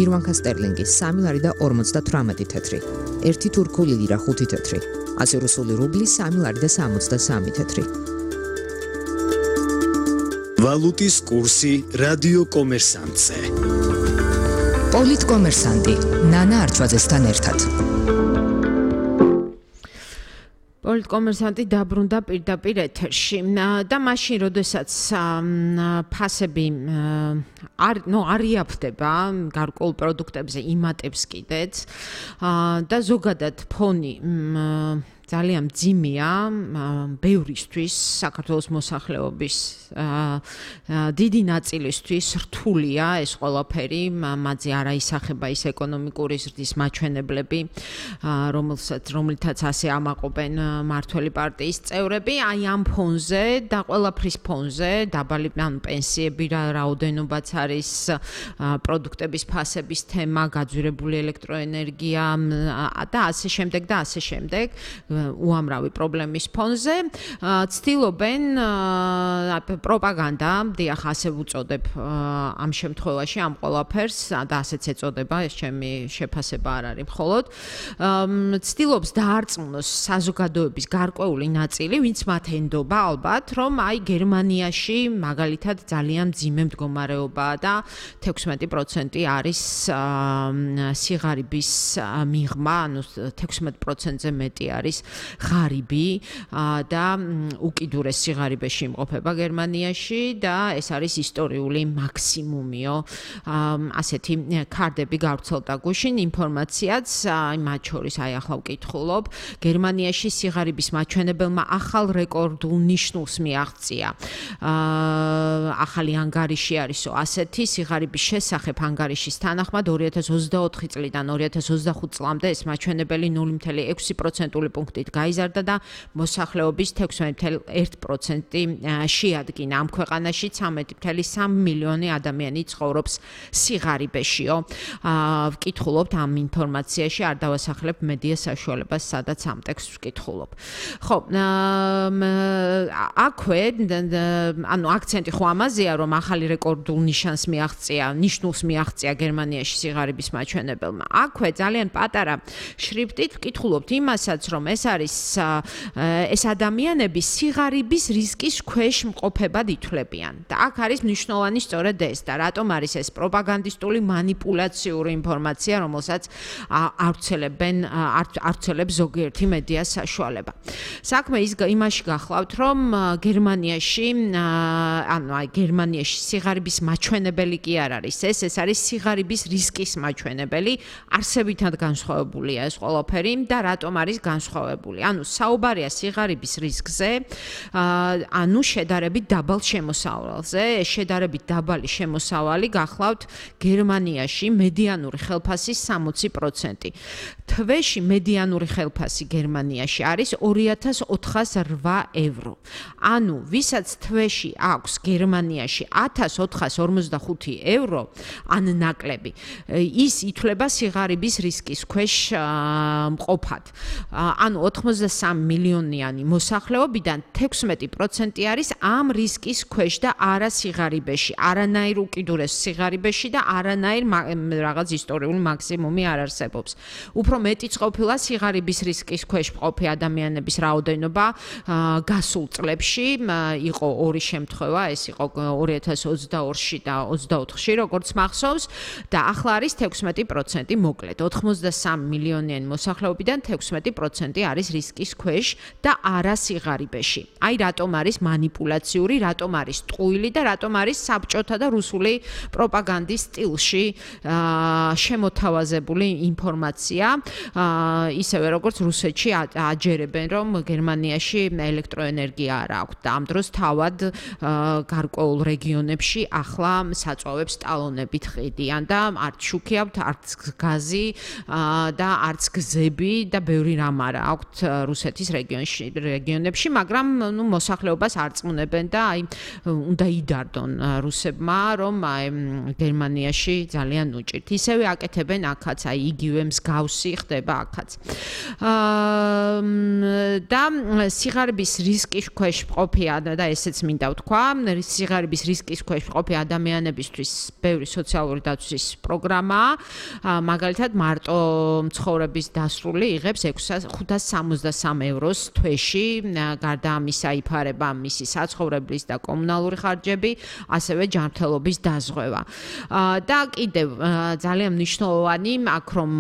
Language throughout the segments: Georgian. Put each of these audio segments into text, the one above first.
გირვანქა სტერლინგის 3 ლარი და 58 თეთრი, 1 თურქული ლირა 5 თეთრი, ასე რუსული რუბლი 3 ლარი და 63 თეთრი. ვალუტის კურსი რადიო კომერსანტზე. პოლიტკომერსანტი ნანა არჩვაძესთან ერთად. პოლიტკომერსანტი დაბრუნდა პირდაპირ ეთერში და მაშინ, როდესაც ფასები არ იაფდება გარკვეულ პროდუქტებზე იმატებს კიდეც და ზოგადად ფონი ძალიან მძიმეა ბევრისთვის, საქართველოს მოსახლეობის დიდი ნაწილისთვის რთულია ეს ყველაფერი, მათზე არ აისახება ის ეკონომიკური ზრდის მაჩვენებლები, რომლითაც ასე ამაყობენ მმართველი პარტიის წევრები, აი ამ ფონზე და ყველაფრის ფონზე, დაბალი პენსიები, რაოდენობაც არის, პროდუქტების ფასების თემა, გაძვირებული ელექტროენერგია და ასე შემდეგ და ასე შემდეგ. უამრავი პრობლემის ფონზე ცდილობენ პროპაგანდა, დიახ, ასე ვუწოდებ ამ შემთხვევაში ამ ყველაფერს და ასეც ეწოდება, ეს ჩემი შეფასება არ არის მხოლოდ. ცდილობს დაარწმუნოს საზოგადოების გარკვეული ნაწილი, ვინც მათ ენდობა ალბათ, რომ აი გერმანიაში მაგალითად ძალიან მძიმე მდგომარეობაა და 16% არის სიღარიბის მიღმა, ანუ 16%-ზე მეტი არის ღარიბი და უკიდურეს სიღარიბეში იმყოფება გერმანიაში და ეს არის ისტორიული მაქსიმუმიო. ასეთი ქარდები გავრცელდა გუშინ ინფორმაციაც, მათ შორის აი ახლა ვკითხულობ, გერმანიაში სიღარიბის მაჩვენებელმა ახალ რეკორდულ ნიშნულს მიაღწია. ახალი ანგარიში არისო ასეთი სიღარიბის შესახებ ანგარიშის თანახმად 2024 წლიდან 2025 წლამდე ეს მაჩვენებელი 0.6% პუნქტით გაიზარდა და მოსახლეობის 16.1% შეადგინა. ამ ქვეყანაში 13.3 მილიონი ადამიანი ცხოვრობს სიღარიბეშიო. ვკითხულობთ ამ ინფორმაციაში, არ დავასახლებ მედია საშუალებას, სადაც ამ ტექსტს ვკითხულობ. ხო, აქვე, ანუ აქცენტი ხო ამაზეა, რომ ახალი რეკორდულ ნიშნულს მიაღწია გერმანიაში სიღარიბის მაჩვენებელმა. აქვე ძალიან პატარა შრიფტით ვკითხულობთ იმასაც, რომ ეს არის ეს ადამიანები სიღარიბის რისკის ქვეშ მყოფებად ითვლებიან და აქ არის მნიშვნელოვანი სწორედ ეს და რატომ არის ეს პროპაგანდისტული მანიპულაციური ინფორმაცია, რომელსაც ავრცელებს ზოგიერთი მედია საშუალება. საქმე იმაში გახლავთ, რომ გერმანიაში სიღარიბის მაჩვენებელი კი არ არის ეს არის სიღარიბის რისკის მაჩვენებელი, არსებითად განსხვავებულია ეს ყველაფერი და რატომ არის განსხვავებული. ანუ საუბარია სიღარიბის რისკზე, ანუ შედარებით დაბალ შემოსავალზე. შედარებით დაბალი შემოსავალი გახლავთ გერმანიაში მედიანური ხელფასის 60%. თვეში მედიანური ხელფასი გერმანიაში არის 2408 евро. ანუ ვისაც თვეში აქვს გერმანიაში 1445 евро, ან ნაკლები, ის ითვლება სიღარიბის რისკის ქვეშ მყოფად. ანუ 83 მილიონიანი მოსახლეობიდან 16% არის ამ რისკის ქვეშ და არა სიღარიბეში, არანაირ უკიდურეს სიღარიბეში და არანაირ რაღაც ისტორიული მაქსიმუმი არ არსებობს. უფრო მეტიც ყოფილა სიღარიბის რისკის ქვეშ მყოფი ადამიანების რაოდენობა გასულ წლებში, იყო ორი შემთხვევა, ეს იყო 2022-ში და 24-ში, როგორც მახსოვს, და ახლა არის 16%, მოკლედ 83 მილიონიანი მოსახლეობიდან 16% არის რისკის ქვეშ და არა სიღარიბეში. აი რატომ არის მანიპულაციური, რატომ არის ტყუილი და რატომ არის საბჭოთა და რუსული პროპაგანდის სტილში შემოთავაზებული ინფორმაცია, ისევე როგორც რუსეთში აჯერებენ, რომ გერმანიაში ელექტროენერგია არ აქვს და ამ დროს თავად გარკვეულ რეგიონებში ახლა საწვავებს ტალონებით ყიდიან და არც შუქი აქვთ, არც გაზი და არც გზები და ბევრი რამ არა აქვს აქვთ რუსეთის რეგიონებში, მაგრამ მოსახლეობას არწმუნებენ და უნდა იდარდონ რუსებმა, რომ გერმანიაში ძალიან უჭირთ. ისევე აკეთებენ აქაც, იგივე მსგავსი ხდება აქაც. და სიღარიბის რისკის ქვეშ მყოფი და ესეც მინდა ვთქვა, სიღარიბის რისკის ქვეშ მყოფი ადამიანებისთვის ბევრი სოციალური დაცვის პროგრამაა. მაგალითად, მარტო მცხოვრების დასრული იღებს 563 ევროს თვეში, გარდა ამისა იფარება მისი საცხოვრებლის და კომუნალური ხარჯები, ასევე ჯანმრთელობის დაზღვევა. და კიდევ ძალიან მნიშვნელოვანი აქ რომ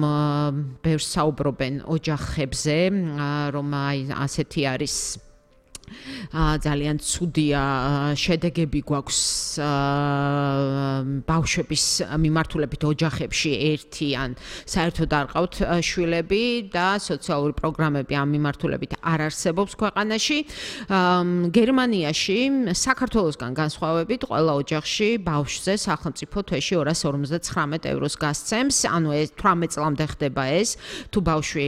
ბევრს საუბრობენ ოჯახებზე, რომ ასეთი არის ძალიან ცუდია შედეგები გვაქვს ბავშვების მიმართულებით ოჯახებში ერთი ან საერთოდ არ ყავთ შვილები და სოციალური პროგრამები ამ მიმართულებით არ არსებობს ქვეყანაში. გერმანიაში საქართველოსგან განსხვავებით ყველა ოჯახში ბავშვზე სახელმწიფო თვეში 259 ევროს გასცემს, ანუ 18 წლამდე ხდება ეს, თუ ბავშვი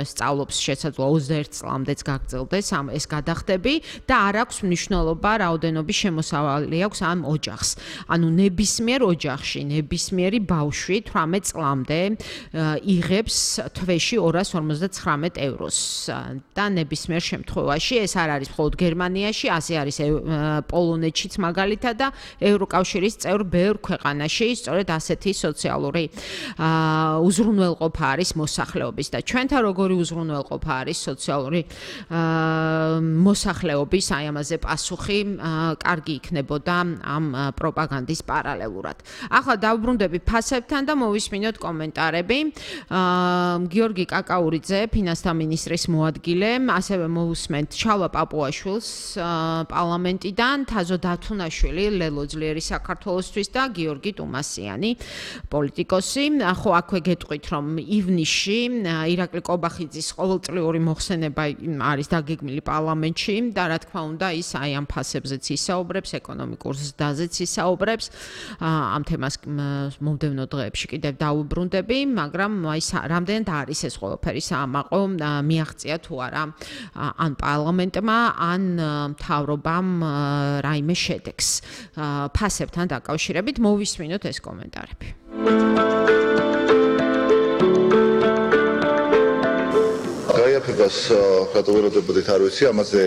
სწავლობს შესაძლოა 21 წლამდეც გაგრძელდეს ეს გადახდები და არ აქვს მნიშვნელობა რაოდენობის შემოსავალი აქვს ამ ოჯახს. ანუ ნებისმიერ ოჯახში, ნებისმიერი ბავშვი 18 წლამდე იღებს თვეში 259 ევროს და ნებისმიერ შემთხვევაში ეს არ არის მხოლოდ გერმანიაში, ასე არის პოლონეთშიც მაგალითად და ევროკავშირის წევრ ბევრ ქვეყანაში სწორედ ასეთი სოციალური უზრუნველყოფა არის მოსახლეობის და ჩვენთან როგორი უზრუნველყოფა არის სოციალური მოსახლეობის აი ამაზე პასუხი კარგი იქნებოდა ამ პროპაგანდის პარალელურად. ახლა დავბრუნდები ფასებთან და მოვისმინოთ კომენტარები. გიორგი კაკაურიძე, ფინანსთა მინისტრის მოადგილე, ასევე მოვუსმენთ ჩალვა პაპუაშვილს პარლამენტიდან, თაზო დათუნაშვილი, ლელო ძლიერი საქართველოსთვის და გიორგი ტუმასიანი, პოლიტიკოსი. ხო, აქვე გეტყვით, რომ ივნისში ირაკლი კობახიძის ყოველწლიური მოხსენება არის დაგეგმილი პარლამენტში და რა თქმა უნდა ის აი ამ ფასებზეც ისაუბრებს, ეკონომიკურ ზრდაზეც ისაუბრებს. ამ თემას მომდევნო დღეებში კიდევ დავუბრუნდები, მაგრამ აი რამდენად არის ეს ყველაფერი საამაყო, მიაღწია თუ არა ან პარლამენტმა, ან მთავრობამ რაიმე შედეგს. ფასებთან დაკავშირებით მოვისმინოთ ეს კომენტარები. გაიაფებას რატოვეროდებოდით არ ვიცი, ამაზე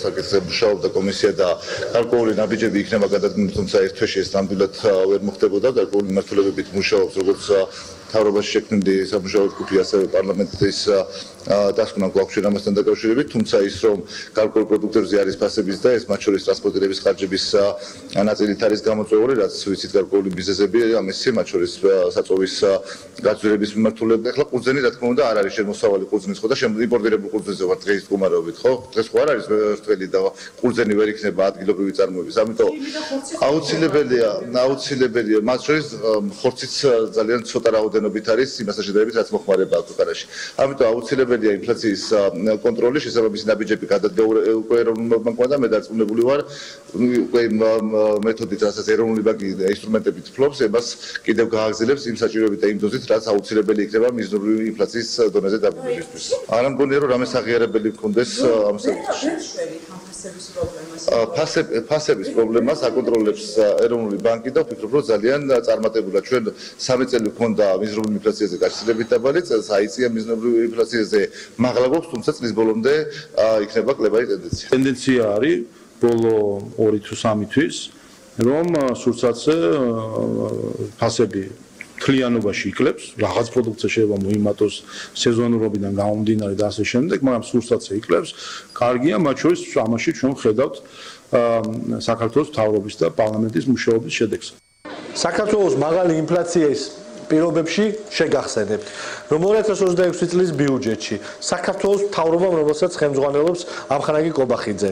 საკითხზე მუშაობდა კომისია და გარკვეული ნაბიჯები იქნება გადადგმული, თუმცა ეს თვეში ეს ნამდვილად ვერ მოხდებოდა, გარკვეული მიმართულებებით მუშაობს, როგორც მთავრობაში შექმნილი სამუშაო ჯგუფი, ასევე პარლამენტის დასკვნა გვაქვს ამასთან დაკავშირებით, თუმცა ის რომ გარკვეულ პროდუქტებზე არის ფასების და ეს მათ შორის ტრანსპორტირების ხარჯების ნაწილით არის გამოწვეული, რაც ვიცით გარკვეული ბიზნესები ამისი, მათ შორის საწოვის გაწვრილების მიმართულებით. ახლა ყურძენი რა თქმა უნდა არ არის შემოსავალი ყურძნის ხო და იმპორტირებულ ყურძენზე ვარ დღის მდგომარეობით, ხო? დღეს ხო არ არის ვერტველი და ყურძენი ვერ იქნება ადგილობრივი წარმოების. ამიტომ აუცილებელია, მათ შორის ხორციც ძალიან ცოტა რაოდენობით არის იმასთან შედარებით, რაც მოხმარება აქვს ქვეყანაში. ამიტომ აუცილებელია ინფლაციის კონტროლი, შესაბამისი ნაბიჯები გადადგა უკვე ეროვნულ ბანკმა და მე დარწმუნებული ვარ, უკვე მეთოდით, რასაც ეროვნული ბანკი ინსტრუმენტებით ფლობს, ამას კიდევ გააგრძელებს იმ საჭიროებით და იმ დოზით, რაც აუცილებელი იქნება მიზნობრივი ინფლაციის დონეზე დაბრუნებისთვის. არ მგონია რომ რამე აღიარებელი მქონდეს ამ საკითხში. ფასების პრობლემას აკონტროლებს ეროვნული ბანკი და ვფიქრობ რომ ძალიან წარმატებულად ჩვენ 3 წელი გვქონდა მიზნობრივი ინფლაციაზე გაშლილებით დაბალი, წელს აიწია მიზნობრივი ინფლაციაზე მაღლა გვაქვს, თუმცა წლის ბოლომდე იქნება კლებაი ტენდენცია. ტენდენცია არის ბოლო 2 თუ 3 თვის, რომ სურსათზე ფასები თლიანობაში იკლებს, რაღაც პროდუქცია შეიძლება მოიმატოს სეზონურობიდან გამომდინარე და ასე შემდეგ, მაგრამ სურსათზე იკლებს. კარგია, მათ შორის ამაში ჩვენ ხედავთ საქართველოს მთავრობის და პარლამენტის მუშაობის შედეგს. საქართველოს მაღალი ინფლაციის პირობებში შეგახსენებთ, რომ 2026 წლის ბიუჯეტში საქართველოს მთავრობამ, რომელსაც ხელმძღვანელობს ამხანაგი კობახიძე,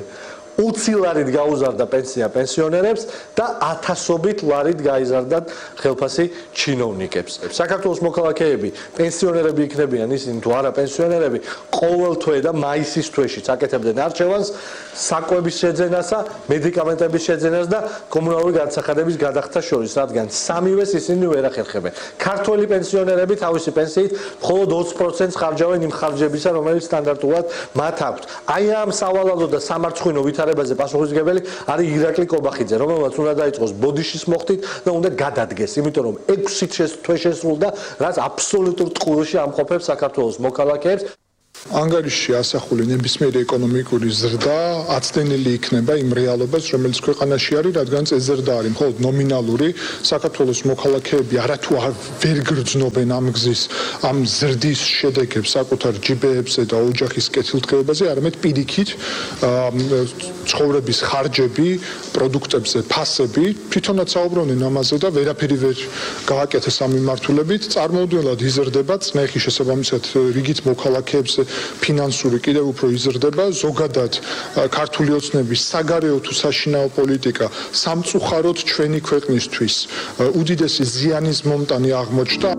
20 ლარით გაუზარდა პენსია პენსიონერებს და 1000-ობით ლარით გაიზარდათ ხელფასი ჩინოვნიკებს. საქართველოს მოქალაქეები, პენსიონერები იქნებიან ისინი თუ არა პენსიონერები, ყოველ თვე და მაისის თვეშიც აკეთებდნენ არჩევანს საკვების შეძენასა, მედიკამენტების შეძენას და კომუნალური განსახადების გადახდას შორის, რადგან სამივეს ისინი ვერ ახერხებენ. ქართველი პენსიონერები თავისი პენსიით მხოლოდ 20%-ს ხარჯავენ იმ ხარჯებისა, რომელიც სტანდარტულად მათ აქვთ. აი ამ სავალალო და სამარცხვინო ვითარებაზე პასუხისმგებელი არის ირაკლი კობახიძე, რომელმაც უნდა დაიწყოს ბოდიშის მოხდით და უნდა გადადგეს, იმიტომ რომ 6 თვე შესრულდა, რაც აბსოლუტურ ტყუილში ამყოფებს საქართველოს მოქალაქეებს. ანგარიშში ასახული ნებისმიერი ეკონომიკური ზრდა აცდენილი იქნება იმ რეალობას, რომელიც ქვეყანაში არის, რადგან ეს ზრდა არის მხოლოდ ნომინალური. საქართველოს მოქალაქეები არათუ ვერ გრძნობენ ამ გზის, ამ ზრდის შედეგებს საკუთარ ჯიბეებზე და ოჯახის კეთილდღეობაზე, არამედ პირიქით ცხოვრების ხარჯები, პროდუქტებზე ფასები, თვითონაც საუბრობენ ამაზე და ვერაფერი ვერ გააკეთეს ამ მიმართულებით. წარმოუდგენლად იზრდება წნეხი შესაბამისად რიგით მოქალაქეებს ფინანსური კიდევ უფრო იზრდება, ზოგადად ქართული ოცნების საგარეო თუ საშინაო პოლიტიკა სამწუხაროდ ჩვენი ქვეყნისთვის უდიდესი ზიანის მომტანი აღმოჩნდა.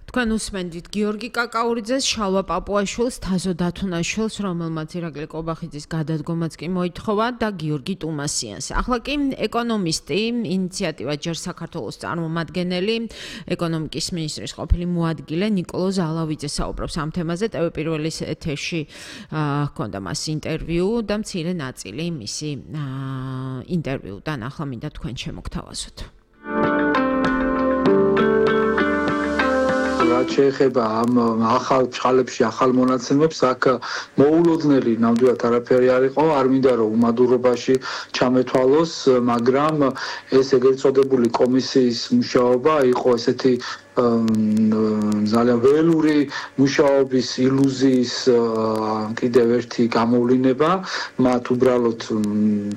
თქვენ უსმენთ გიორგი კაკაურიძეს, შალვა პაპუაშვილს, თაზო დათუნაშვილს, რომელმაც ირაკლი კობახიძის გადადგომაც კი მოითხოვა და გიორგი ტუმასიანს. ახლა კი ეკონომისტი, ინიციატივა ჯერ საქართველოს წარმომადგენელი, ეკონომიკის მინისტრის ყოფილი მოადგილე ნიკოლოზ ალავიძე საუბრობს ამ თემაზე. TV პირველის ეთერში ჰქონდა მას ინტერვიუ და მცირე ნაწილი მისი ინტერვიუდან ახლა მინდა თქვენ შემოგთავაზოთ. რაც შეეხება ამ ახალ ჭყალებში ახალ მონაცემებს, აქ მოულოდნელი ნამდვილად არაფერი არ იყო, არ მინდა რომ უმადურობაში ჩამეთვალოს, მაგრამ ეს ეგრეთ წოდებული კომისიის მუშაობა იყო ესეთი ძალიან ველური მუშაობის ილუზიის კიდევ ერთი გამოვლინება. მათ უბრალოდ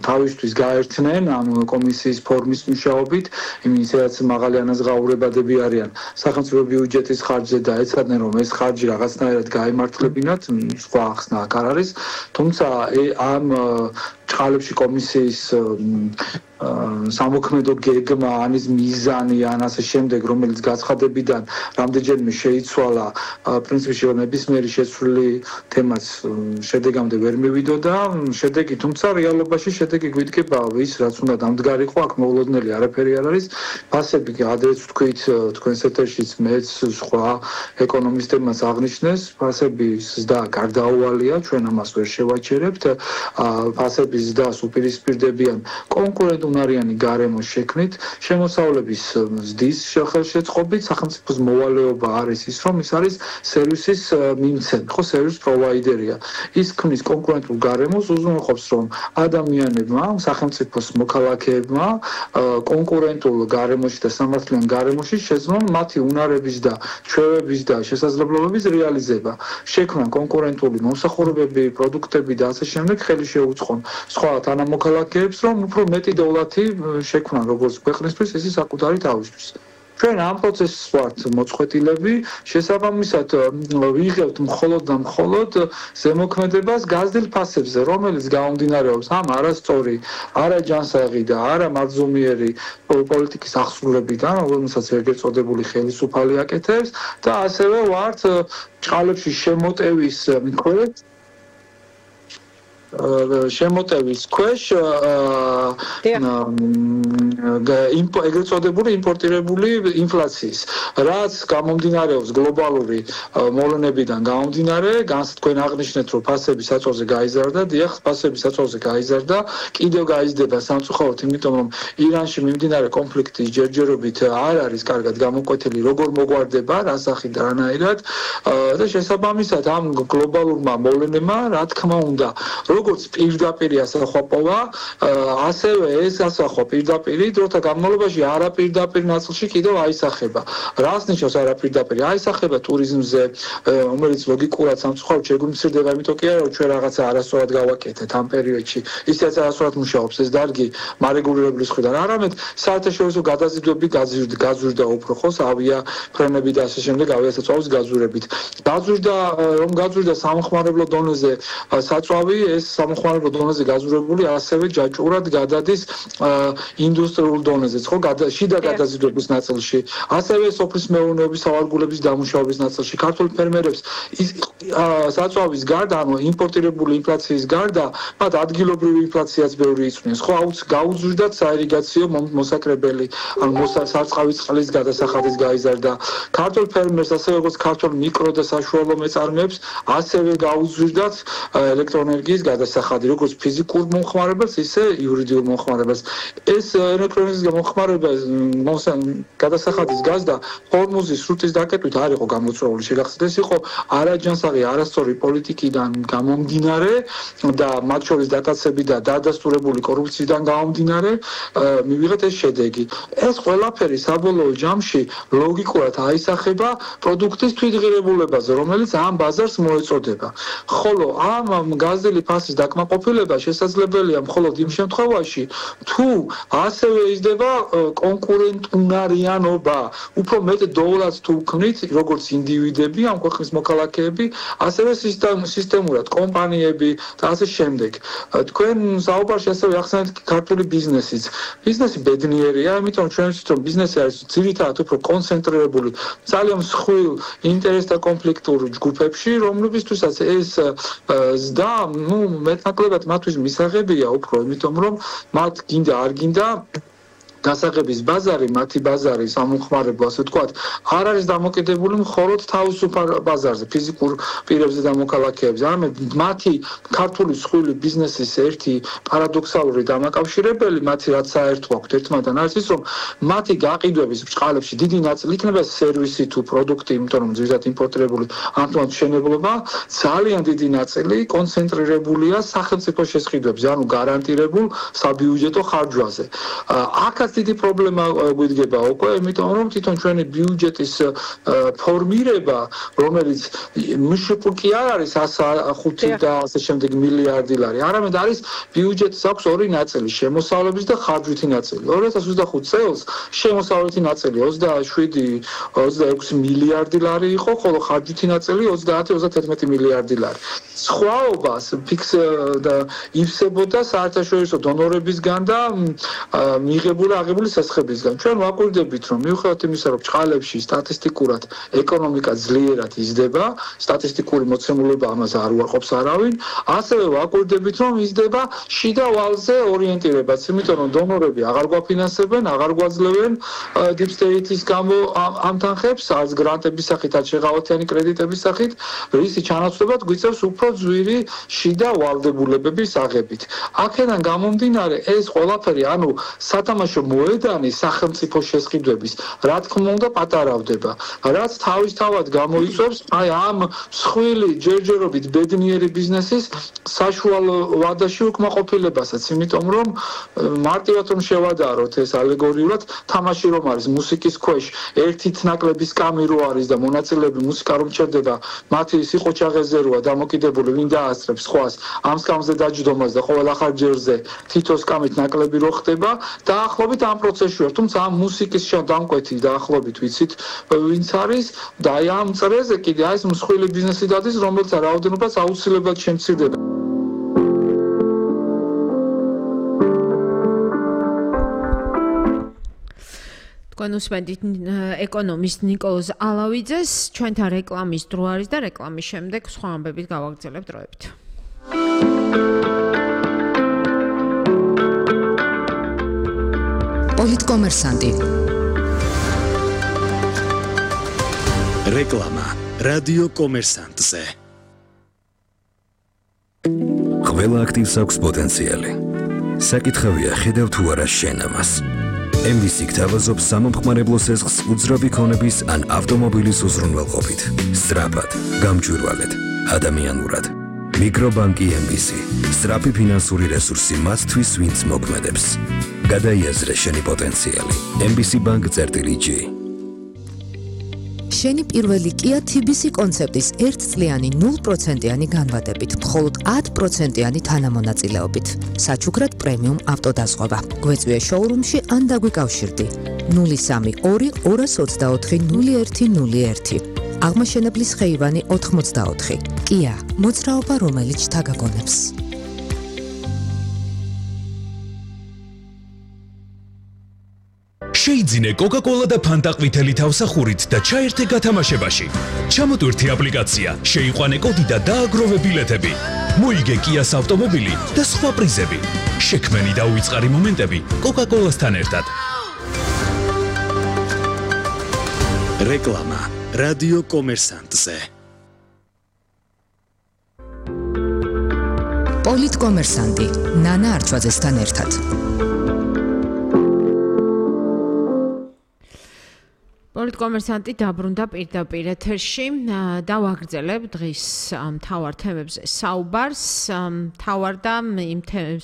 თავისთვის გაერთნენ ამ კომისიის ფორმის მუშაობით, იმის რაც მაღალი ანაზღაურებადები არიან სახელმწიფო ბიუჯეტის ხარჯზე და ეცადნენ რომ ეს ხარჯი რაღაცნაირად გაემართლებინათ, სხვა ახსნა აქ არ არის. თუმცა ამ ჭყალებში კომისიის სამოქმედო გეგმა, ანის მიზანი, ან ასე შემდეგ, რომელიც გაცხადებიდან რამდენჯერმე შეიცვალა, პრინციპში ნებისმიერი შეცვლილი თემაც შედეგამდე ვერ მივიდოდა. შედეგი, თუმცა რეალობაში შედეგი გვიდგება ვის, რაც უნდა დამდგარიყო, აქ მოულოდნელი არაფერი არ არის. ფასები, ადრეც ვთქვით, თქვენს ეთერშიც მეც სხვა ეკონომისტებმაც აღნიშნეს, ფასების ზრდა გარდაუვალია, ჩვენ ამას ვერ შევაჩერებთ. ფასების ზრდას უპირისპირდებიან კონკურენტუნარიანი გარემოს შექმნით, შემოსავლების ზრდის ხელშეწყობით, სახელმწიფოს მოვალეობა არის ის, რომ ის არის სერვისის მიმცემი, ხო, სერვის პროვაიდერია. ის ქმნის კონკურენტულ გარემოს, უზრუნველყოფს, რომ ადამიანებმა, სახელმწიფოს მოქალაქეებმა კონკურენტულ გარემოში და სამართლიან გარემოში შეძლონ მათი უნარების და ჩვევების და შესაძლებლობების რეალიზება. შექმნან კონკურენტული მომსახურებები, პროდუქტები და ასე შემდეგ, ხელი შეუწყონ სხვა თანამოქალაქეებს, რომ უფრო მეტი დოლარი შექმნან როგორც ქვეყნისთვის, ისე საკუთარი თავისთვის. ჩვენ ამ პროცესს ვართ მოწყვეტილები, შესაბამისად ვიღებთ მხოლოდ და მხოლოდ ზემოქმედებას გაზრდილ ფასებზე, რომელიც გამომდინარეობს ამ არასწორი, არაჯანსაღი და არამარცომიერი პოლიტიკის აღსრულებიდან, რომელსაც ეგრეთ წოდებული ხელისუფალი აკეთებს და ასევე ვართ ჭყალებში შემოტევის ქვეშ ეგრეთ წოდებული იმპორტირებული ინფლაციის, რაც გამომდინარეობს გლობალური მოვლენებიდან გამომდინარე, თქვენ აღნიშნეთ, რომ ფასების საწოლზე გაიზარდა, დიახ, ფასების საწოლზე გაიზარდა, კიდევ გაიზრდება სამწუხაროდ, იმიტომ რომ ირანში მიმდინარე კონფლიქტის ჯერჯერობით არ არის კარგად გამოკვეთილი, როგორ მოგვარდება, რა სახით და რანაირად და შესაბამისად ამ გლობალურმა მოვლენებმა, რა თქმა უნდა, როგორც პირდაპირ ასახვაპოვა, ასევე ეს ასახვა პირდაპირ დროთა განმავლობაში არაპირდაპირ ნაწილში კიდევ აისახება. რას ნიშნავს არაპირდაპირ? აისახება ტურიზმზე, რომელიც ლოგიკურად სამწუხაროდ შეგვიმცირდება, იმიტომ კი არა, რომ ჩვენ რაღაცა არასწორად გავაკეთეთ ამ პერიოდში. ისეც არასწორად მუშაობს ეს დარგი მარეგულირებლის მხრიდან. არამედ საერთაშორისო გადაზიდვები გაზურდა უფრო ხო, ავიაფრენები და ასე შემდეგ, ავიასაწვავის გაზურებით. რომ გაზურდა სამხმარებლო დონეზე საწვავი, ეს სამხმარებლო დონეზე გაზურებული ასევე ჯაჭვურად გადადის ინდუსტრიულ დონეზეც, ხო, შიდა გადაზიდვების ნაწილში. ასევე სოფლის მეურნეობის სავარგულების დამუშავების ნაწილში. ქართულ ფერმერებს ის საწვავის გარდა, ანუ იმპორტირებული ინფლაციის გარდა, მათ ადგილობრივი ინფლაციაც ბევრი იწვნის. ხო, გაუზრდათ საირიგაციო მოსაკრებელი, ანუ სარწყავი წყლის გადასახადის გაიზარდა. ქართულ ფერმერს, ასევე როგორც ქართულ მიკრო და საშუალო მეწარმეებს, ასევე გაუზრდათ ელექტროენერგიის გადასახადი, როგორც ფიზიკურ მომხმარებელს, ისე იურიდიულ მომხმარებელს. ეს ელექტროენერგიის მომხმარება გადასახადის გაზდა ჰორმუზის სრუტის დაკეტვით არ იყო გამოწვეული. შეგახსენეთ, ეს იყო არაჯანსაღი, არასწორი პოლიტიკიდან გამომდინარე და მათ შორის დატაცები და დადასტურებული კორუფციიდან გამომდინარე მივიღეთ ეს შედეგი. ეს ყველაფერი საბოლოო ჯამში ლოგიკურად აისახება პროდუქტის თვითღირებულებაზე, რომელიც ამ ბაზარს მოეწოდება. ხოლო ამ გაზრდილი ფასის დაკმაყოფილება შესაძლებელია მხოლოდ იმ შემთხვევაში, თუ ასევე იზრდება კონკურენტუნარიანობა. უფრო მეტ დოლარს თუ ვქმნით, როგორც ინდივიდები, ამ ქვეყნის მოქალაქეები, ასევე სისტემურად კომპანიები და ასე შემდეგ. თქვენ საუბარში ასევე ახსენეთ ქართული ბიზნესიც. ბიზნესი ბედნიერია, იმიტომ ჩვენ ვიცით, რომ ბიზნესი არის ძირითადად უფრო კონცენტრირებული ძალიან მსხვილ ინტერესთა კონფლიქტურ ჯგუფებში, რომლებისთვისაც ეს ზრდა, მეტნაკლებად მათთვის მისაღებია უფრო, იმიტომ რომ მათ გინდა არ გინდა გასაღების ბაზარი, მათი ბაზარი სამომხმარებლო, ასე ვთქვათ, არ არის დამოკიდებული მხოლოდ თავისუფალ ბაზარზე, ფიზიკურ პირებზე და მოქალაქეებზე. არამედ მათი ქართული მსხვილი ბიზნესის ერთი პარადოქსალური დამაკავშირებელი, მათი რაც საერთო აქვთ ერთმანეთთან არის ის, რომ მათი გაყიდვების ბრჭყალებში დიდი ნაწილი იქნება სერვისი თუ პროდუქტი, იმიტომ რომ ძირითადად იმპორტირებული ამიტომ მშენებლობა, ძალიან დიდი ნაწილი კონცენტრირებულია სახელმწიფო შესყიდვებზე, ანუ გარანტირებულ საბიუჯეტო ხარჯვაზე. აქაც დიდი პრობლემა გვიდგება უკვე, იმიტომ რომ თვითონ ჩვენი ბიუჯეტის ფორმირება, რომელიც მშპ კი არ არის 105 და ასე შემდეგ მილიარდი ლარი, არამედ არის ბიუჯეტის აქვს ორი ნაწილი, შემოსავლების და ხარჯვითი ნაწილი. 2025 წელს შემოსავლეთი ნაწილი 27-26 მილიარდი ლარი იყო, ხოლო ხარჯვითი ნაწილი 30-31 მილიარდი ლარი. სხვაობას ფიქსდა ივსებოდა საერთაშორისო დონორებისგან და აღებული სასხებისგან. ჩვენ ვაკვირდებით, რომ მიუხედავად იმისა, რომ ბრჭყალებში სტატისტიკურად ეკონომიკა ძლიერად იზრდება, სტატისტიკური მოცემულობა ამას არ უარყოფს არავინ, ასევე ვაკვირდებით, რომ იზრდება შიდა ვალზე ორიენტირებაც, იმიტომ რომ დონორები აღარ გვაფინანსებენ, აღარ გვაძლევენ deep state-ის გამო ამ თანხებს, არც გრანტების სახით, არც შეღავათიანი კრედიტების სახით, რისი ჩანაცვლებლად გვიწევს უფრო ძვირი შიდა ვალდებულებების აღებით. აქედან გამომდინარე, ეს ყველაფერი, ანუ სათამაშო მოედანი სახელმწიფო შესყიდვების, რა თქმა უნდა, პატარავდება, რაც თავისთავად გამოიწვევს აი ამ მსხვილი ჯერჯერობით ბედნიერი ბიზნესის საშუალო ვადაში უკმაყოფილებასაც, იმიტომ რომ მარტივად რომ შევადაროთ ეს ალეგორიულად, თამაში რომ არის მუსიკის ქვეშ, ერთით ნაკლები სკამი რო არის და მონაწილეები მუსიკა რომ ჩერდება, მათი სიყოჩაღეზე როა დამოკიდებული, ვინ დაასწრებს სხვას ამ სკამზე დაჯდომას და ყოველ ახალ ჯერზე თითო სკამით ნაკლები რო ხდება, დაახლოებით ამ პროცესში ვარ, თუმცა ამ მუსიკის დამკვეთი დაახლოებით ვიცით, ვინც არის და აი ამ წრეზე კიდე აი ეს მსხვილი ბიზნესი დადის, რომელიც რაოდენობას აუცილებლად შემცირდება. თქვენ უსმენთ ეკონომისტ ნიკოლოზ ალავიძეს, ჩვენთან რეკლამის დრო არის და რეკლამის შემდეგ სხვა ამბებით გავაგრძელებთ დროებით. პოლიტკომერსანტი. რეკლამა რადიო კომერსანტზე. ყველა აქტივს აქვს პოტენციალი. საკითხავია ხედავ თუ არა შენ ამას. MVC გთავაზობს სამომხმარებლო სესხს უძრავი ქონების ან ავტომობილის უზრუნველყოფით. სწრაფად, გამჭვირვალედ, ადამიანურად. მიკრობანკი MBC. სწრაფი ფინანსური რესურსი მათთვის, ვინც მოქმედებს. გადაიაზრე შენი პოტენციალი. MBC Bank-G. შენი პირველი Kia TBC კონცეპტის 1 წლიანი 0%-იანი განვადებით, მხოლოდ 10%-იანი თანამონაწილეობით. საჩუქრად პრემიუმ ავტოდაზღვევა. გვეწვია შოურუმში ან დაგვიკავშირდი. 032 224 0101. აღმაშენებლის ხეივანი 84. Kia, მოძრაობა რომელიც თაგაგონებს. შეიძინე Coca-Cola და Fanta ყვითელი თავსახურით და ჩაერთე გათამაშებაში. ჩამოტვირთი აპლიკაცია, შეიყვანე კოდი და დააგროვე ბილეთები. მოიგე Kia-ს ავტომობილი და სხვა პრიზები. შექმენი და უიწყარი მომენტები Coca-Cola-სთან ერთად. რეკლამა რადიო კომერსანტზე. პოლიტკომერსანტი ნანა არჩვაძესთან ერთად. პოლიტკომერსანტი დაბრუნდა პირდაპირ ეთერში და ვაგრძელებ დღის მთავარ თემებზე საუბარს. მთავარ და იმ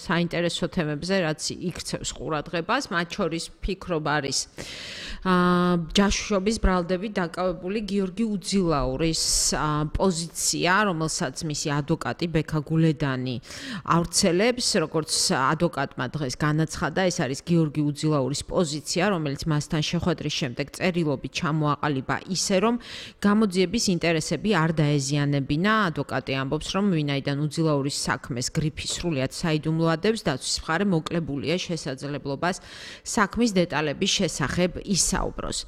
საინტერესო თემებზე, რაც იქცევს ყურადღებას, მათ შორის ფიქრობ არის ჯაშუშობის ბრალდებით დაკავებული გიორგი უძილაურის პოზიცია, რომელსაც მისი ადვოკატი ბექა გულედანი ავრცელებს, როგორც ადვოკატმა დღეს განაცხადა, ეს არის გიორგი უძილაურის პოზიცია, რომელიც მასთან შეხვედრის შემდეგ წერილობით ჩამოაყალიბა ისე, რომ გამოძიების ინტერესები არ დაეზიანებინა. ადვოკატი ამბობს, რომ ვინაიდან უძილაურის საქმეს გრიფი სრულიად საიდუმლოადებს, დაცვის მხარე მოკლებულია შესაძლებლობას საქმის დეტალების შესახებ ისაუბროს.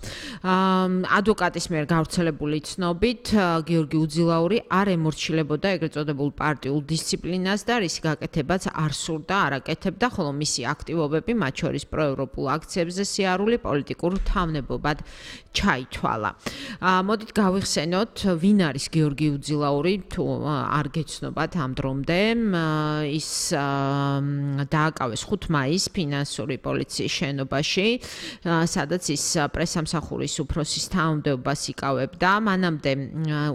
ადვოკატის მიერ გავრცელებული ცნობით, გიორგი უძილაური არ ემორჩილებოდა ეგრეთ წოდებულ პარტიულ დისციპლინას და რისი გაკეთებაც არ სურდა, არ აკეთებდა, ხოლო მისი აქტივობები, მათ შორის პროევროპულ აქციებზე სიარული პოლიტიკურ თავნებობად ჩაითვალა. მოდით გავიხსენოთ, ვინ არის გიორგი უძილაური, თუ არ გეცნობათ ამ დრომდე. ის დააკავეს 5 მაისს ფინანსური პოლიციის შენობაში, სადაც ის პრესამსახურის უფროსის თანამდებობას იკავებდა. მანამდე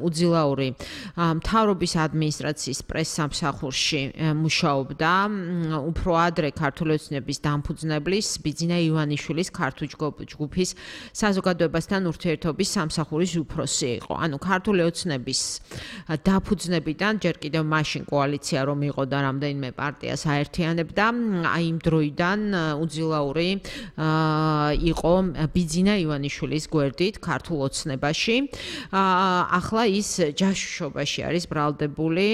უძილაური მთავრობის ადმინისტრაციის პრესამსახურში მუშაობდა. უფრო ადრე ქართული ოცნების დამფუძნებლის ბიძინა ივანიშვილის ქართული ჯგუფის საზოგადოებასთან ურთიერთობის სამსახურის უფროსი იყო. ანუ ქართული ოცნების დაფუძნებიდან ჯერ კიდევ მაშინ კოალიცია რომ იყო და რამდენიმე პარტიას აერთიანებდა, აი იმ დროიდან უძილაური იყო ბიძინა ივანიშვილის გვერდით ქართულ ოცნებაში. ახლა ის ჯაშუშობაში არის ბრალდებული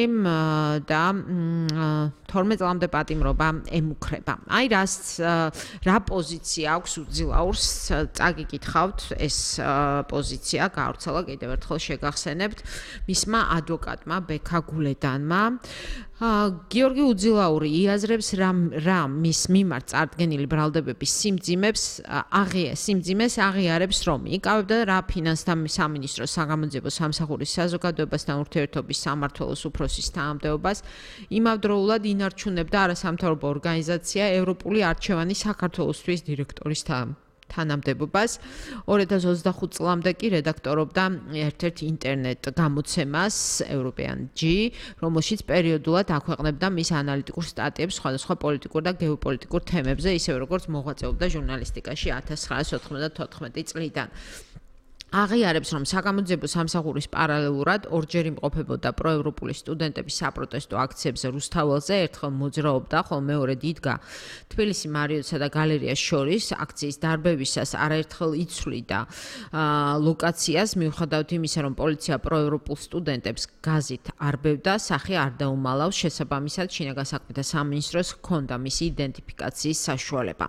და 12 წლამდე პატიმრობა ემუქრება. აი რა პოზიცია აქვს უძილაურს, წაგიკითხავთ ეს პოზიცია, გავრცელა კიდევ ერთხელ შეგახსენებთ მისმა ადვოკატმა ბექა გულედანმა. გიორგი უძილაური იაზრებს რა მის მიმართ წარდგენილი ბრალდებების სიმძიმეს აღიარებს, რომ იკავებდა რა ფინანსთა სამინისტროს საგამოძიებო სამსახურის საზოგადოებასთან ურთიერთობის სამმართველოს უფროსის თანამდებობას, იმავდროულად ინარჩუნებდა არასამთავრობო ორგანიზაცია ევროპული არჩევანი საქართველოსთვის დირექტორის თანამდებობას. 2025 წლამდე კი რედაქტორობდა ერთ-ერთ ინტერნეტ გამოცემას European-G, რომელშიც პერიოდულად აქვეყნებდა მის ანალიტიკურ სტატიებს სხვადასხვა პოლიტიკურ და გეოპოლიტიკურ თემებზე, ისევე როგორც მოღვაწეობდა ჟურნალისტიკაში 1994 წლიდან. აღიარებს, რომ საგამოძიებო სამსახურის პარალელურად ორჯერ იმყოფებოდა პროევროპული სტუდენტების საპროტესტო აქციებზე რუსთაველზე, ერთხელ მოძრაობდა, ხოლო მეორედ იდგა თბილისი მარიოტსა და გალერეას შორის აქციის დარბევისას არაერთხელ იცვლიდა ლოკაციას, მიუხედავად იმისა, რომ პოლიცია პროევროპულ სტუდენტებს გაზით არბევდა, სახე არ დაუმალავს, შესაბამისად შინაგან საქმეთა სამინისტროს ჰქონდა მისი იდენტიფიკაციის საშუალება.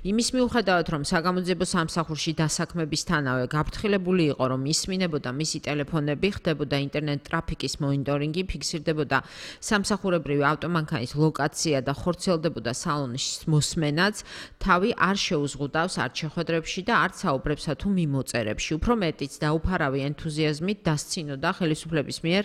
იმის მიუხედავად, რომ საგამოძიებო სამსახურში დასაქმებისთანავე გაფრთხილებული იყო, რომ ისმინებოდა მისი ტელეფონები, ხდებოდა ინტერნეტ ტრაფიკის მონიტორინგი, ფიქსირდებოდა სამსახურებრივი ავტომანქანის ლოკაცია და ხორციელდებოდა სალონის მოსმენაც, თავი არ შეუზღუდავს არც შეხვედრებში და არც საუბრებსა თუ მიმოწერებში. უფრო მეტიც დაუფარავი ენთუზიაზმით დასცინოდა ხელისუფლების მიერ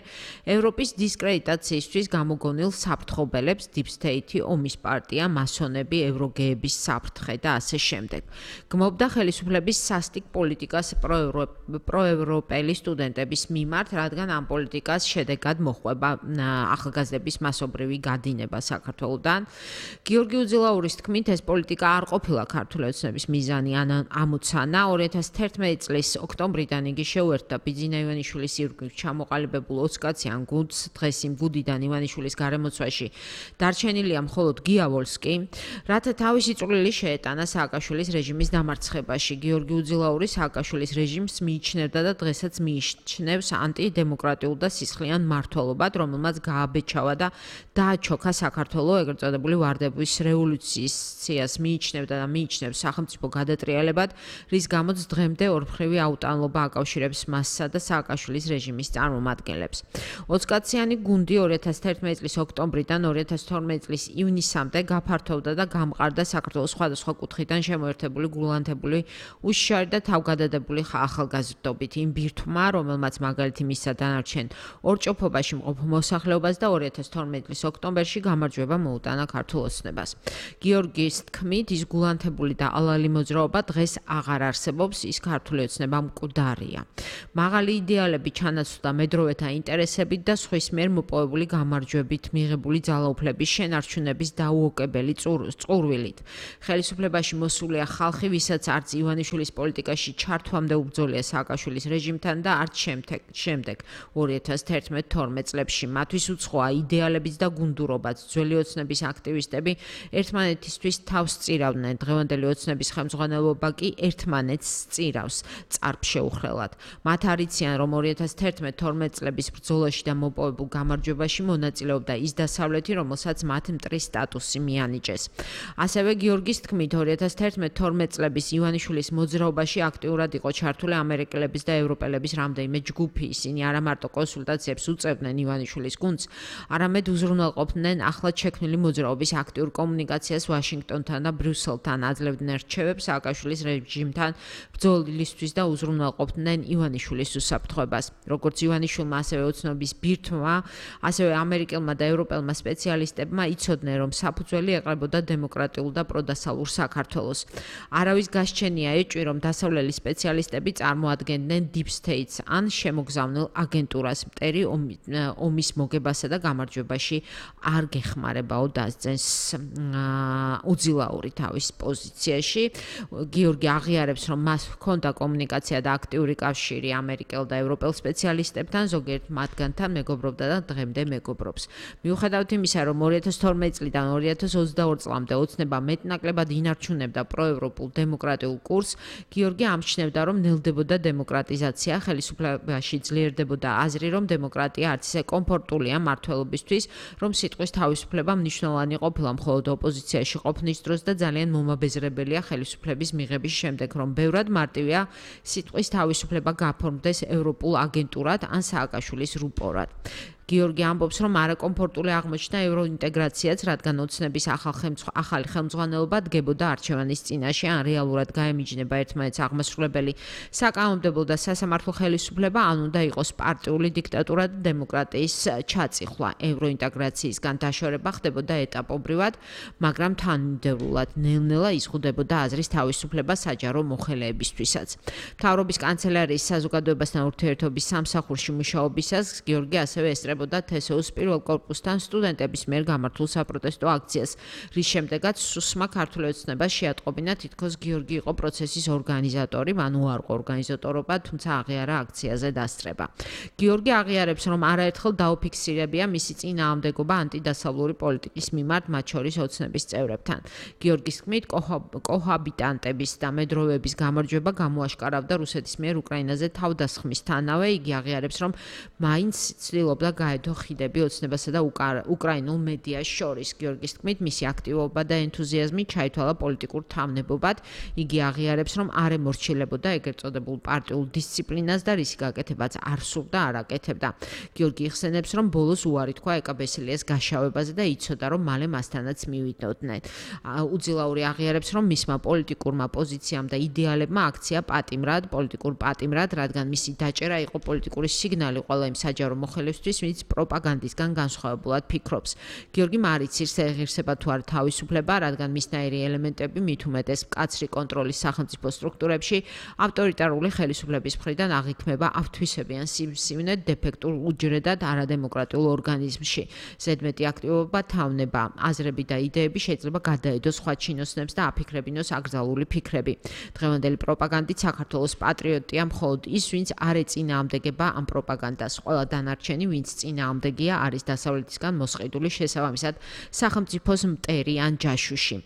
ევროპის დისკრედიტაციისთვის გამოგონილ საფრთხობელებს, Deep State, ომის პარტია, მასონები, ევროგეების საფრთხე და ასე შემდეგ. გმობდა ხელისუფლების სასტიკ პოლიტიკას პროევროპულ პროევროპელი სტუდენტების მიმართ, რადგან ამ პოლიტიკას შედეგად მოჰყვება ახალგაზრდების მასობრივი გადინება საქართველოდან. გიორგი უძილაურის თქმით, ეს პოლიტიკა არ ყოფილა ქართული ოცნების მიზანი ან ამოცანა. 2011 წლის ოქტომბრიდან იგი შეუერთდა ბიძინა ივანიშვილის ირგვლივ ჩამოყალიბებულ 20 კაციან გუნდს. დღეს იმ გუნდიდან ივანიშვილის გარემოცვაში დარჩენილია მხოლოდ გია ვოლსკი, რათა თავისი წვლილი შეეტანა სააკაშვილის რეჟიმის დამარცხებაში. გიორგი უძილაური სააკაშვილის რეჟიმს მიიჩნევდა და დღესაც მიიჩნევს ანტიდემოკრატიულ და სისხლიან მმართველობად, რომელმაც გააბეჭავა და დააჩოქა საქართველოს ეგრეთ წოდებული ვარდების რევოლუციას მიიჩნევდა და მიიჩნევს სახელმწიფო გადატრიალებად, რის გამოც დღემდე ორმხრივი აუტანლობა აკავშირებს მასსა და სააკაშვილის რეჟიმის წარმომადგენლებს. 20 კაციანი გუნდი 2011 წლის ოქტომბრიდან 2012 წლის ივნისამდე გაფართოვდა და გამყარდა საქართველოს სხვადასხვა კუთხიდან შემოერთებული გულანთებული უშიშარი და თავგადადებული ახალგაზრდობით. იმ ბირთვმა, რომელმაც მაგალითი მისცა დანარჩენ ორჭოფობაში მყოფ მოსახლეობას და 2012 წლის ოქტომბერში გამარჯვება მოუტანა ქართულ ოცნებას. გიორგის თქმით, ის გულანთებული და ალალი მოძრაობა დღეს აღარ არსებობს, ის ქართული ოცნება მკვდარია. მაღალი იდეალები ჩანაცვლდა მედროვეთა ინტერესებით და სხვის მიერ მოპოვებული გამარჯვებით მიღებული ძალაუფლების შენარჩუნების დაუოკებელი წყურვილით. ხელისუფლებაში მოსულია ხალხი, ვისაც არც ივანიშვილის პოლიტიკაში ჩართვამდე უბრძოლია სააკაშვილის რეჟიმთან და არც შემდეგ 2011-12 წლებში. მათთვის უცხოა იდეალებიც და გუნდურობაც. ძველი ოცნების აქტივისტები ერთმანეთისთვის თავს სწირავდნენ. დღევანდელი ოცნების ხელმძღვანელობა კი ერთმანეთს სწირავს წარბშეუხრელად. მათ არიციან, რომ 2011-12 წლების ბრძოლაში და მოპოვებულ გამარჯვებაში მონაწილეობდა ის დასავლეთი, რომელსაც მათ მტრის სტატუსი მიანიჭეს. ასევე გიორგის თქმით, 2011-12 წლების ივანიშვილის მოძრაობაში აქტიურად იყო ჩართული ამერიკელების და ევროპელების რამდენიმე ჯგუფი. ისინი არა მარტო კონსულტაციებს უწევდნენ ივანიშვილის გუნდს, არამედ უზრუნველყოფდნენ ახლად შექმნილი მოძრაობის აქტიურ კომუნიკაციას ვაშინგტონთან და ბრიუსელთან, აძლევდნენ რჩევებს სააკაშვილის რეჟიმთან ბრძოლისთვის და უზრუნველყოფდნენ ივანიშვილის უსაფრთხოებას. როგორც ივანიშვილმა, ასევე ოცნების ბირთვმა, ასევე ამერიკელმა და ევროპელმა სპეციალისტებმა იცოდნენ, რომ საფუძველი ეყრებოდა დემოკრატიულ და პროდასალურ საქართველოს. არავის გასჩენია ეჭვი, რომ დასავლელი სპეციალისტები წარმოადგენდნენ deep states ან შემოგზავნილ აგენტურას. მტერი ომის მოგებასა და გამარჯვებაში არ გეხმარებაო, დასძენს უძილაური თავის პოზიციაში. გიორგი აღიარებს, რომ მას ჰქონდა კომუნიკაცია და აქტიური კავშირი ამერიკელ და ევროპელ სპეციალისტებთან, ზოგიერთ მათგანთან მეგობრობდა და დღემდე მეგობრობს. მიუხედავად იმისა, რომ 2012 წლიდან 2022 წლამდე ოცნება მეტნაკლებად ინარჩუნებდა პროევროპულ დემოკრატიულ კურსს, გიორგი ამჩნევდა, რომ ნელდებოდა დემოკრატიზაცია, ხელისუფლებაში ძლიერდებოდა აზრი, რომ დემოკრატია არც ისე კომფორტულია მმართველობისთვის, რომ სიტყვის თავისუფლება მნიშვნელოვანი ყოფილა მხოლოდ ოპოზიციაში ყოფნის დროს და ძალიან მომაბეზრებელია ხელისუფლების მიღების შემდეგ, რომ ბევრად მარტივია სიტყვის თავისუფლება გაფორმდეს ევროპულ აგენტურად ან სააკაშვილის რუპორად. გიორგი ამბობს, რომ არაკომფორტული აღმოჩნდა ევროინტეგრაციაც, რადგან ოცნების ახალი ხელმძღვანელობა დგებოდა არჩევანის წინაშე, ან რეალურად გაემიჯნება ერთმანეთს აღმასრულებელი საკანონმდებლო და სასამართლო ხელისუფლება, ან უნდა იყოს პარტიული დიქტატურა და დემოკრატიის ჩაწიხვლა. ევროინტეგრაციისგან დაშორება ხდებოდა ეტაპობრივად, მაგრამ თანმიმდევრულად, ნელ-ნელა იზღუდებოდა აზრის თავისუფლება საჯარო მოხელეებისთვისაც. მთავრობის კანცელარიის საზოგადოებასთან ურთიერთობის სამსახურში მუშაობისას გიორგი ასევე ესწრებოდა თესოუს პირველ კორპუსთან სტუდენტების მიერ გამართულ საპროტესტო აქციას, რის შემდეგაც სუსმა ქართული ოცნება შეატყობინა, თითქოს გიორგი იყო პროცესის ორგანიზატორი, მან უარყო ორგანიზატორობა, თუმცა აღიარა აქციაზე დასწრება. გიორგი აღიარებს, რომ არაერთხელ დაუფიქსირებია მისი წინააღმდეგობა ანტიდასავლური პოლიტიკის მიმართ, მათ შორის ოცნების წევრებთან. გიორგის თქმით, კოჰაბიტანტების და მედროვეების გამარჯვება გამოაშკარავდა რუსეთის მიერ უკრაინაზე თავდასხმისთანავე. იგი აღიარებს, რომ მაინც ცდილობდა გაედო ხიდები ოცნებასა და უკრაინულ მედიას შორის. გიორგის თქმით, მისი აქტივობა და ენთუზიაზმი ჩაითვალა პოლიტიკურ თავნებობად. იგი აღიარებს, რომ არ ემორჩილებოდა ეგრეთ წოდებულ პარტიულ დისციპლინას და რისი გაკეთებაც არ სურდა, არ აკეთებდა. გიორგი იხსენებს, რომ ბოლოს უარი თქვა ეკაბესილიას გაშავებაზე და იცოდა, რომ მალე მასთანაც მივიდოდნენ. უძილაური აღიარებს, რომ მისმა პოლიტიკურმა პოზიციამ და იდეალებმა აქცია პოლიტიკურ პატიმრად, რადგან მისი დაჭერა იყო პოლიტიკური სიგნალი ყველა იმ საჯარო მოხელესთვის, რომელიც პროპაგანდისგან განსხვავებულად ფიქრობს. გიორგი მარიცის ღირსება თუ არა თავისუფლება, რადგან მისნაირი ელემენტები მით უმეტეს მკაცრი კონტროლის სახელმწიფო სტრუქტურებში ავტორიტარული ხელისუფლების მხრიდან აღიქმება ავთვისებიან სიმსივნე დეფექტურ უჯრედად არადემოკრატიულ ორგანიზმში. ზედმეტი აქტივობა, თავნება, აზრები და იდეები შეიძლება გადაედოს სხვა ჩინოსნებს და აფიქრებინოს აკრძალული ფიქრები. დღევანდელი პროპაგანდით საქართველოს პატრიოტია მხოლოდ ის, ვინც არ ეწინააღმდეგება ამ პროპაგანდას. ყველა დანარჩენი, ვინც წინააღმდეგია, არის დასავლეთისგან მოსყიდული, შესაბამისად სახელმწიფოს მტერი ან ჯაშუში.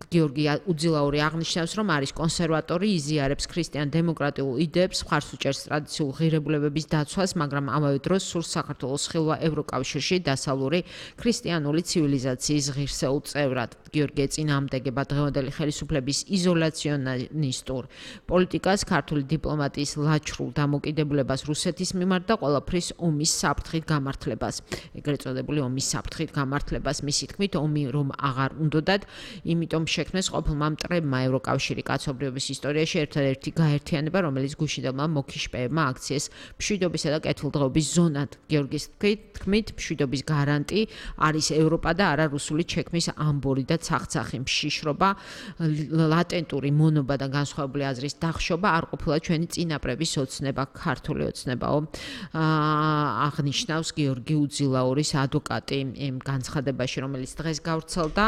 გიორგი უძილაური აღნიშნავს, რომ არის კონსერვატორი, იზიარებს ქრისტიან-დემოკრატიულ იდეებს, მხარს უჭერს ტრადიციულ ღირებულებების დაცვას, მაგრამ ამავე დროს სურს საქართველოს ხილვა ევროკავშირში დასავლური ქრისტიანული ცივილიზაციის ღირსეულ წევრად. გიორგი ეწინააღმდეგება დღევანდელი ხელისუფლების იზოლაციონისტურ პოლიტიკას, ქართული დიპლომატიის ლაჩრულ დამოკიდებულებას რუსეთის მიმართ და ყველაფრის ომის საფრთხით გამართლებას. ეგრეთ წოდებული ომის საფრთხით გამართლებას. მისი თქმით, ომი რომ აღარ უნდოდათ, იმიტომ შექმნეს ყოფილმა მტრებმა ევროკავშირი კაცობრიობის ისტორიაში ერთადერთი გაერთიანება, რომელიც გუშინდელმა მოქიშპეებმა აქციეს მშვიდობისა და კეთილდღეობის ზონად. გიორგის თქმით, მშვიდობის გარანტი არის ევროპა და არა რუსული ჩექმის ამბორი და ცახცახი მშიშრობა, ლატენტური მონობა და განსხვავებული აზრის დახშობა არ ყოფილა ჩვენი წინაპრების ოცნება, ქართული ოცნებაო. აღნიშნავს გიორგი უძილაურის ადვოკატი იმ განცხადებაში, რომელიც დღეს გავრცელდა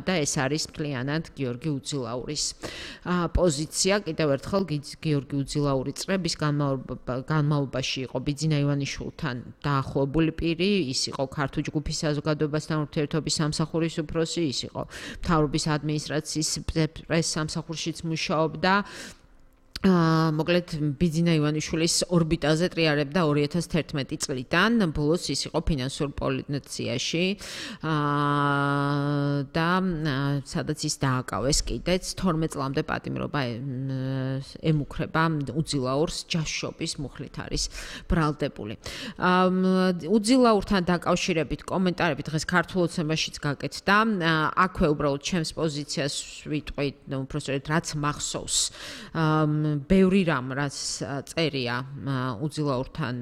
და ეს არის მთლიანად გიორგი უძილაურის პოზიცია. კიდევ ერთხელ გიორგი უძილაური წლების განმავლობაში იყო ბიძინა ივანიშვილთან დაახლოებული პირი, ის იყო ქართული ჯგუფის საზოგადოებასთან ურთიერთობის სამსახურის უფროსი, ის იყო მთავრობის ადმინისტრაციის პრეს-სამსახურშიც მუშაობდა. მოკლედ ბიძინა ივანიშვილის ორბიტაზე ტრიარებდა 2011 წლიდან, ბოლოს ის იყო ფინანსურ პოლიციაში და სადაც ის დააკავეს კიდეც 12 წლამდე პატიმრობა ემუქრება უძილაურს ჯაშობის მუხლით არის ბრალდებული. უძილაურთან დაკავშირებით კომენტარები დღეს ქართულ ოცნებაშიც გაკეთდა. აქვე უბრალოდ ჩემს პოზიციას ვიტყვი, უბრალოდ რაც მახსოვს ბევრი რამ რაც წერია უძილაურთან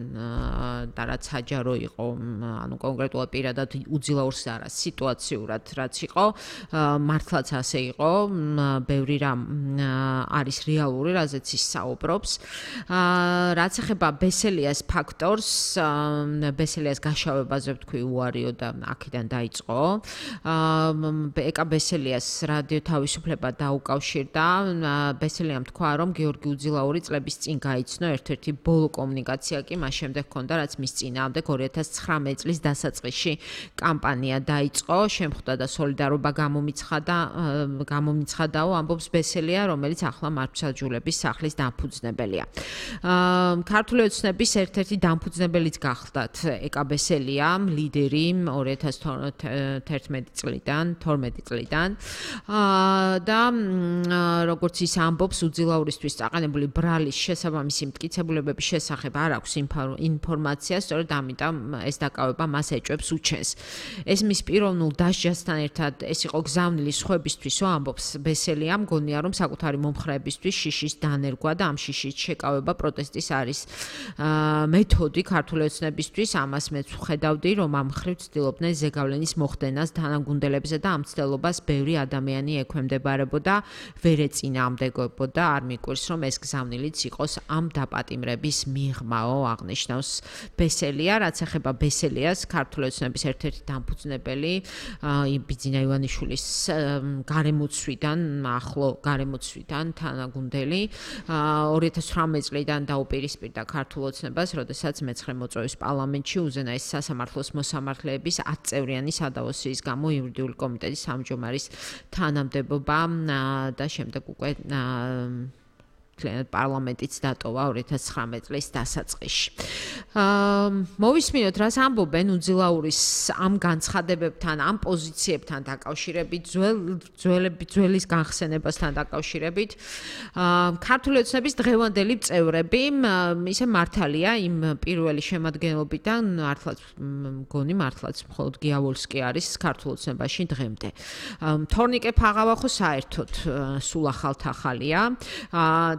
და რაც საჯარო იყო, ანუ კონკრეტულად პირადად უძილაურს არა, სიტუაციურად რაც იყო, მართლაც ასე იყო, ბევრი რამ არის რეალური, რაზეც ის საუბრობს. რაც ეხება ბესელიას ფაქტორს, ბესელიას გაშავებაზე ვთქვი უარიო და აქედან დაიწყო. ეკა ბესელიას რადიო თავისუფლება დაუკავშირდა. ბესელიამ თქვა, რომ გიორგი უძილაური წლების წინ გაიცნო, ერთ-ერთი ბოლო კომუნიკაცია კი მას შემდეგ ჰქონდა, რაც მის წინააღმდეგ 2019 წლის დასაწყისში კამპანია დაიწყო, შემხვდა და სოლიდარობა გამომიცხადაო, ამბობს ბესელია, რომელიც ახლა მართლმსაჯულების სახლის დამფუძნებელია. ქართული ოცნების ერთ-ერთი დამფუძნებელიც გახლდათ ეკა ბესელია, ლიდერი 2011 წლიდან და როგორც ის ამბობს, უძილაურისთვის აყენებული ბრალის შესაბამისი მტკიცებულებების შესახებ არ აქვს ინფორმაცია, სწორედ ამიტომ ეს დაკავება მას ეჭვებს უჩენს. ეს მის პიროვნულ დასჯასთან ერთად ეს იყო გზავნილი სხვებისთვისო, ამბობს ბესელია, მგონია რომ საკუთარი მომხრეებისთვის შიშის დანერგვა და ამ შიშის შეკავება პროტესტის არის მეთოდი ქართული ოცნებისთვის, ამას მეც ვხედავდი, რომ ამ მხრივ ცდილობდნენ ზეგავლენის მოხდენას თანაგუნდელებზე და ამ ცდელობას ბევრი ადამიანი ექვემდებარებოდა, ვერ ეწინააღმდეგებოდა, არ მიკვირს რომ ეს გზავნილიც იყოს ამ დაპატიმრების მიღმაო, აღნიშნავს ბესელია. რაც ეხება ბესელიას, ქართული ოცნების ერთ-ერთი დამფუძნებელი, ბიძინა ივანიშვილის გარემოცვიდან, ახლო გარემოცვიდან თანაგუნდელი, 2018 წლიდან დაუპირისპირდა ქართულ ოცნებას, როდესაც მე-9 მოწვევის პარლამენტში უზენაეს სასამართლოს მოსამართლეების 10 წევრიანი სადავოსიის გამო იურიდიული კომიტეტის თავმჯდომარის თანამდებობა და შემდეგ უკვე პარლამენტიც დატოვა 2019 წლის დასაწყისში. მოვისმინოთ, რას ამბობენ უძილაურის ამ განცხადებებთან, ამ პოზიციებთან დაკავშირებით, ძველის განხსენებასთან დაკავშირებით. ქართული ოცნების დღევანდელი წევრები, ისე მართალია, იმ პირველი შემადგენლობიდან მართლაც მხოლოდ გიავოლსკი არის ქართულ ოცნებაში დღემდე. თორნიკე ფაღავა ხო საერთოდ სულ ახალთახალია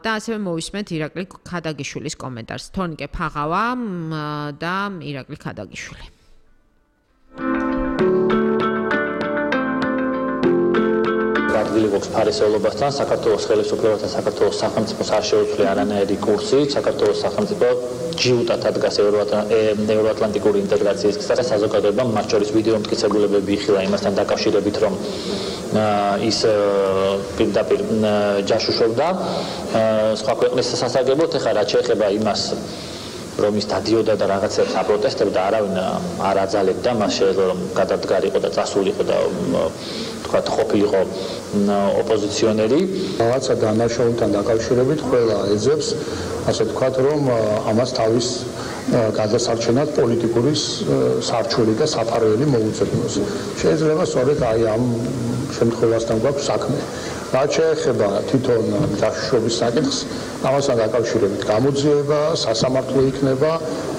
და და ასევე მოვისმენთ ირაკლი ქადაგიშვილის კომენტარს. თონიკე ფაღავა და ირაკლი ქადაგიშვილი. ადგილი გვაქვს ფარისეულობასთან, საქართველოს ხელისუფლებასთან, საქართველოს სახელმწიფოს არ შეუძლია არანაირი კურსი, საქართველოს სახელმწიფო ჯიუტად ადგას ევროატლანტიკური ინტეგრაციის გზაზე, საზოგადოებამ მათ შორის ვიდეო მტკიცებულებები იხილა იმასთან დაკავშირებით, რომ ის პირდაპირ ჯაშუშობდა სხვა ქვეყნის სასარგებლოდ. ეხლა რაც შეეხება იმას, რომ ის დადიოდა და რაღაცებს აპროტესტებდა, არავინ არ აძალებდა, მას შეიძლება რომ გადადგარიყო და წასულიყო და თქვა ყოფილიყო ოპოზიციონერი. რაღაცა დანაშაულთან დაკავშირებით ყველა ეძებს, ასე ვთქვათ, რომ ამას თავის გადასარჩენად პოლიტიკური სარჩელი და საფარველი მოუწოდოს. შეიძლება სწორედ აი ამ შემთხვევასთან გვაქვს საქმე. რაც შეეხება თვითონ ჯაშუშობის საკითხს, ამასთან დაკავშირებით გამოძიება სასამართლო იქნება,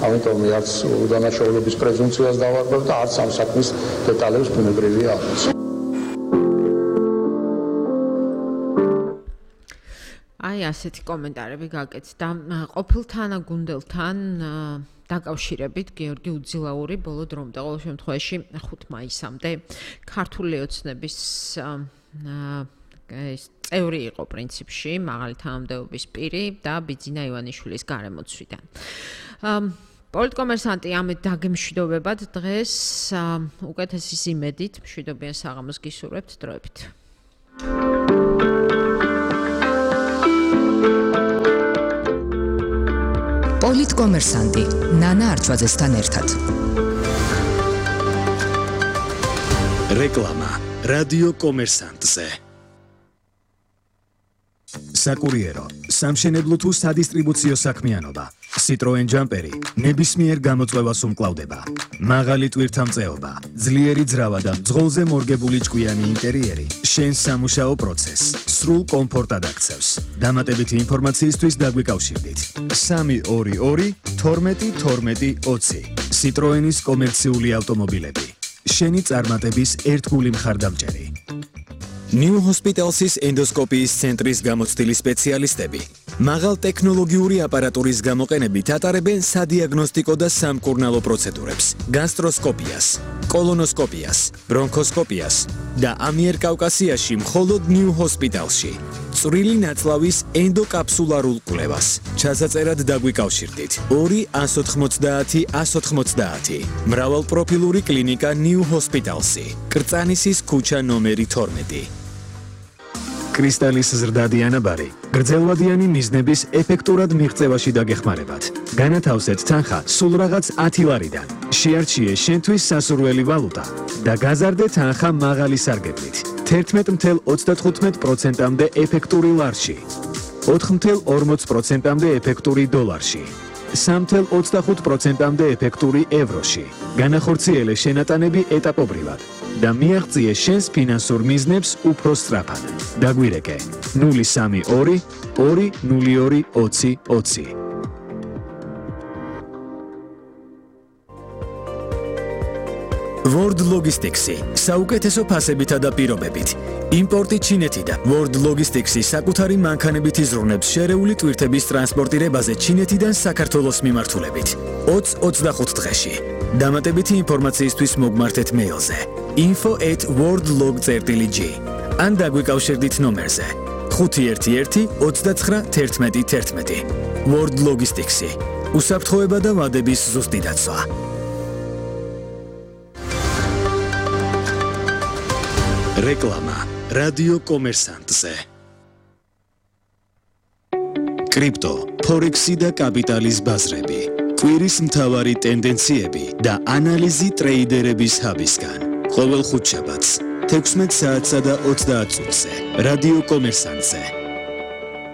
ამიტომ არც უდანაშაულობის პრეზუმპციას დავარღვევ და არც ამ საქმის დეტალებს ბუნებრივია აღწევ. აი ასეთი კომენტარები გაკეთდა ყოფილ თანაგუნდელთან დაკავშირებით გიორგი უძილაური ბოლო დრომდე ყოველ შემთხვევაში 5 მაისამდე ქართული ოცნების წევრი იყო პრინციპში მაღალი თანამდებობის პირი და ბიძინა ივანიშვილის გარემოცვიდან. პოლიტკომერსანტი ამით დაგემშვიდობებად დღეს უკეთესი იმედით მშვიდობიან საღამოს გისურვებთ დროებით. პოლიტკომერსანტი ნანა არჩვაძესთან ერთად. რეკლამა რადიო კომერსანტზე. საკურიერო, სამშენებლო თუ სადისტრიბუციო საქმიანობა. Citroen Jumperi ნებისმიერ გამოწვევას უმკლავდება. მაღალი ტვირთამწეობა, ძლიერი ძრავა და ძღოლზე მორგებული ჭკვიანი ინტერიერი შენს სამუშაო პროცესს სრულ კომფორტად აქცევს. დამატებითი ინფორმაციისთვის დაგვიკავშირდით. 322 12 12 20 Citroenis კომერციული ავტომობილები. შენი წარმატების ერთგული მხარდამჭერი. New Hospital's ენდოსკოპიის ცენტრის გამოცდილი სპეციალისტები მაღალ ტექნოლოგიური აპარატურის გამოყენებით ატარებენ სადიაგნოსტიკო და სამკურნალო პროცედურებს, გასტროსკოპიას, კოლონოსკოპიას, ბრონქოსკოპიას და ამიერკავკასიაში მხოლოდ New Hospital's-ში. წვრილი ნაწლავის ენდოკაფსულარულ კვლევას. ჩასაწერად დაგვიკავშირდით 2 190 190 მრავალპროფილური კლინიკა New Hospital's-ი. კრწანისის ქუჩა ნომერი 12. კრისტალის ზრდადი ანაბარი გრძელვადიანი მიზნების ეფექტურად მიღწევაში დაგეხმარებათ. განათავსეთ თანხა სულ რაღაც 10 ლარიდან. შეარჩიე შენთვის სასურველი ვალუტა და გაზარდე თანხა მაღალი სარგებლით. 11.35%-მდე ეფექტური ლარში. 4.40%-მდე ეფექტური დოლარში. 3.25%-მდე ეფექტური ევროში. განახორციელე შენატანები ეტაპობრივად და მიაღწიე შენს ფინანსურ მიზნებს უფრო სწრაფად. დაგვირეკე 032 202 20 20. World Logistics-ი საუკეთესო ფასებითა და პირობებით. იმპორტი ჩინეთიდან. World Logistics-ი საკუთარი მანქანებით იზრუნებს შერეული ტვირთების ტრანსპორტირებაზე ჩინეთიდან საქართველოს მიმართულებით. 20-25 დღეში. დამატებითი ინფორმაციისთვის მოგმართეთ მეილზე info@worldlog.gr ან დაგვიკავშირდით ნომერზე 511 29 11 11. World Logistics-ი უსაფრთხოება და ვადების ზუსტი დაცვა. რეკლამა რადიო კომერსანტზე. კრიპტო, ფორექსი და კაპიტალის ბაზრები. კვირის მთავარი ტენდენციები და ანალიზი ტრეიდერების ჰაბისგან. ყოველ ხუთშაბათს 16 საათსა და 30 წუთზე. რადიო კომერსანტზე.